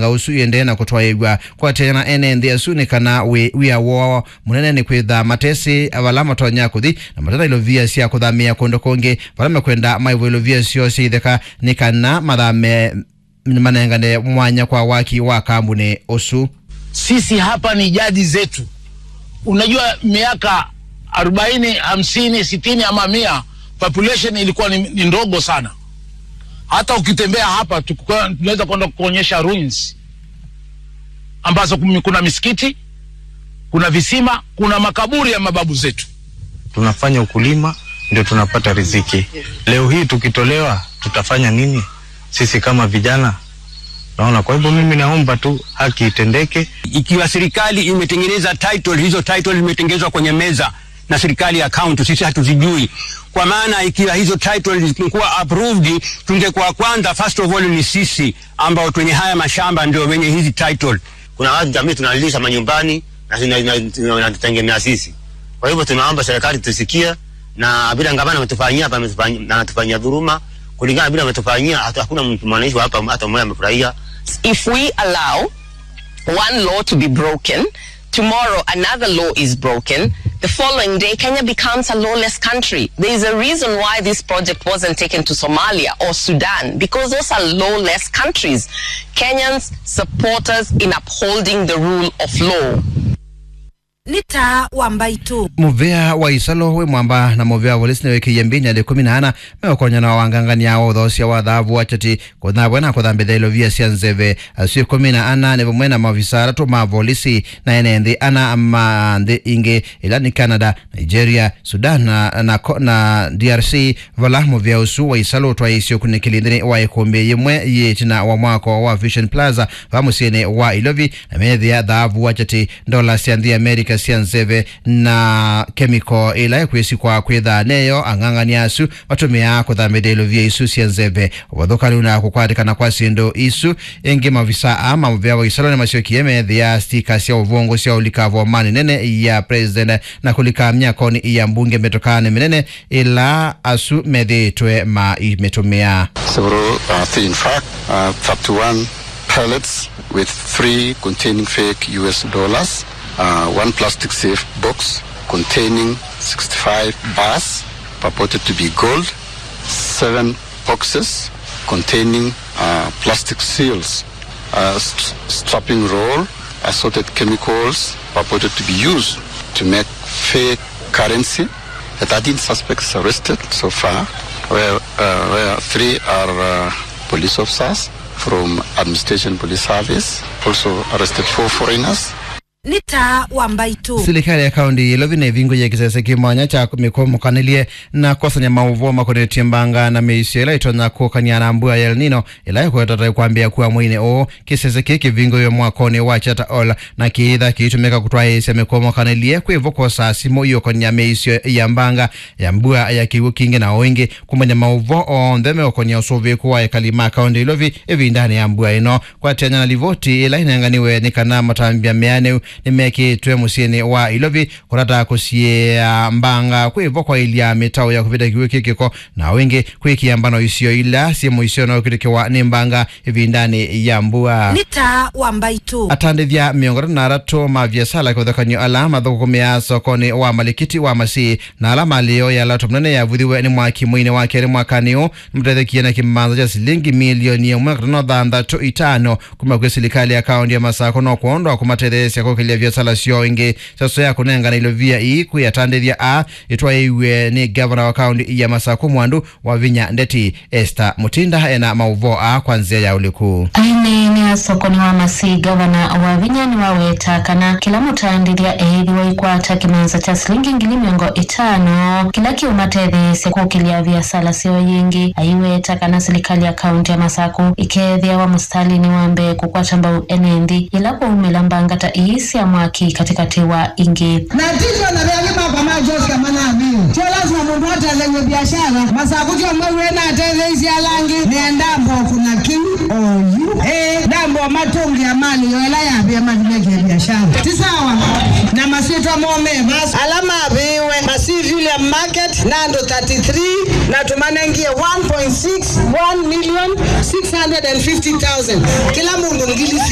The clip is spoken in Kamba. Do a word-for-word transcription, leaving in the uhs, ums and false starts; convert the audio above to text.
ũsu iendee na kũtwaĩĩw'a. Kwatĩana na ene nthĩ asu nĩ kana wĩ wĩa woo mũnene nĩ kwĩtha matesĩ vala matonya kũthi na matena ilovia sya kũthamĩĩa kũndũ kũngĩ vala mekwenda maĩvwe ilovia syoo sya itheka nĩ kana mathame manengane mwanya kwa waki wa kambuni ũsu. Sisi hapa ni jadi zetu. Unajua, miaka arobaini, hamsini, sitini ama mia, population ilikuwa ni, ni ndogo sana. Hata ukitembea hapa, tukuwa-, tunaweza kwenda kuonyesha ruins ambazo kumi-, kuna misikiti, kuna visima, kuna makaburi ya mababu zetu. Tunafanya ukulima, ndio tunapata riziki. Leo hii tukitolewa, tutafanya nini sisi kama vijana? Naona, kwa hivyo mimi naomba tu haki itendeke. Ikiwa serikali imetengeneza title, hizo title zimetengenezwa kwenye meza na serikali ya county, sisi hatuzijui. Kwa maana ikiwa hizo title zingekuwa approved, tungekuwa kwanza, first of all, ni sisi ambao twenye haya mashamba ndio wenye hizi title. Kuna watu jamii tunalisha manyumbani na tuna-, na, na, na tutegemea sisi. Kwa hivyo tunaomba serikali tusikie, na vile gavana ametufanyia hapa, ametufanyia, na anatufanyia dhuluma kulingana vile ametufanyia, hata hakuna mtu mwananchi wa hapa hata mmoja amefurahia. If we allow one law to be broken, tomorrow another law is broken, the following day Kenya becomes a lawless country. There is a reason why this project wasn't taken to Somalia or Sudan, because those are lawless countries. Kenyans support us in upholding the rule of law. Nĩ taa wa mbaitũ. Mũvĩa wa Isalo wĩ mwamba na mũvĩa wa volisi nĩwĩkĩie mbini andũ ĩkũmi na ana meũkonyana wa wangangania wa ũthoosya wa thaavu wa chati kũthavwe na kũthambĩthya ilovia sya nzeve. Asu ĩkũmi na ana nĩ vamwe na maovisa atatũ ma volisi na ene nthĩ ana ma nthĩ ingĩ, ĩla nĩ Canada, Nigeria, Sudan na, na, ko- na D R C, vala mũvĩa ũsu wa Isalo ũtwaĩĩsye ũkunĩkĩli nthĩnĩ wa ĩkũmbĩ yĩmwe yĩ ĩtina wa mwako wa Vision Plaza va mũsyĩnĩ wa Ilovi, na meethĩa thaavu wa chati, ndola sya nthĩ ya Amerika sya nzeve, na kemiko ĩla ĩkwĩsikwa kwĩtha neyo ang'ang'ani asu matũmĩaa kũthambĩthya ilovia isu sya nzeve. Ũvathũkany'o na kũkwatĩkana kwa syĩndũ isu, ĩngĩ maovisa aa ma mũvĩa wa Isalo nĩmasyokie meethĩa stika sya ũvũngũ sya ũlika vomanĩ nene ya president na kũlika myakonĩ ya mbunge mĩtokanĩ mĩnene ĩla asu methĩĩtwe maimĩtũmĩa. Several, uh, thi-, in fact, uh, thirty-one pallets with three containing fake U S dollars, uh, one plastic safe box containing sixty-five bars purported to be gold, seven boxes containing, uh, plastic seals, uh, st- strapping roll, assorted chemicals purported to be used to make fake currency. The thirteen suspects arrested so far, where, uh, where three are, uh, police officers from Administration Police Service, also arrested four foreigners. Nĩ taa wa mbaitũ. Silikalĩ ya kaũntĩ ya Ilovi nĩvingũie kĩsese kĩ mwanya kya mĩkũmũkanĩlye na kwosany'a maũvoo makonetye mbanga na mĩisyo ĩla ĩtonya kũkany'a na mbua ya El Nino ĩla ĩkwetete kwambĩĩa kua mweinĩ ũũ. Kĩsese kĩĩ kĩvingũiwe mwakonĩ wa Charter Hall na kĩĩtha kĩitũmĩka kũtwaĩĩsya mĩkũmũkanĩlye kwĩvo kwosaa simũ iũkony'a mĩisyo ya mbanga ya mbua ya kĩw'ũ kingĩ na o ĩngĩ kũmanya maũvoo onthe meũkony'a ũsũvĩĩku wa ekali ma kaũntĩ ya Ilovi ĩvindanĩ ya mbua ĩno. Kwatĩanĩa na livoti ĩla ĩnenganiwe nĩ kana matambya meanĩu nĩmekĩĩtwe mũsyĩnĩ wa Ilovi kũtata kũsiĩĩa mbanga kwĩvo kwaĩlya mĩtaũ ya kũvĩta kĩw'ũ kĩ kĩko na o ĩngĩ kwĩkĩa mbano isio ila syĩ mũisyonĩ wa kwĩtĩkĩwa nĩ mbanga ĩvindanĩ ya mbua. Nĩ taa wa mbaitũ. Atandĩthya mĩongo ĩtatũ na atatũ ma viasala kĩvathũkany'o ala mathũkũmĩaa sokonĩ wa Malikiti wa Masii na ala malĩ yoo ya laptop nene yavuthiwe nĩ mwaki mweinĩ wa kelĩ mwakanĩ ũũ nĩmatethekie na kĩmanza kya silingi milioni ĩmwe na katono thanthatũ itano kuma kwĩ silikalĩ ya kaũntĩ ya Masakũ no kwondũ wa kũmatetheesya kũkĩlya viasala syoo ĩngĩ. Ndeto ya kũnengana ilovia ii kwĩ atandĩthya aa ĩtwaĩiw'e nĩ ngavana wa kaũntĩ ya Masakũ Mwandu Wavinya Ndeti. Esther Mutinda ena maũvoo aa kwa nzĩa ya ũliku. Aineenea sokonĩ wa Masii, ngavana Wavinya nĩwaweta kana kĩla mũtandĩthya eĩthĩwa aikwata kĩmanza kya silingi ngili mĩongo ĩtano kĩla kĩũmatetheesya kũkĩlya viasala syoo yĩngĩ. Aiweta kana silikalĩ ya kaũntĩ ya Masakũ ĩkeethĩawa mũsitalĩnĩ wa mbee kũkwata mbau ene nthĩ yĩla kwaumĩla mbanga ta ii sya mwaki katĩkatĩ wa ingĩ. Na ti twona ve angĩ makwa ma Josca manavĩwe. Tyo lasima mũndũ atethew'e viasala. Masakũ tyo maw'e na atetheisye ala angĩ. Nĩ andambo kũna kĩu oyu. Ĩĩ, ndambo matũngĩa mali yo ĩla yavĩa mathi mekĩe viasala. Ti sawa. Na masyĩtwa moo me vasa. Ala mavĩĩwe Masii Villiam Market na andũ thirty-three na tũmanengie one point six one million six hundred and fifty thousand. Kĩla mũndũ ngili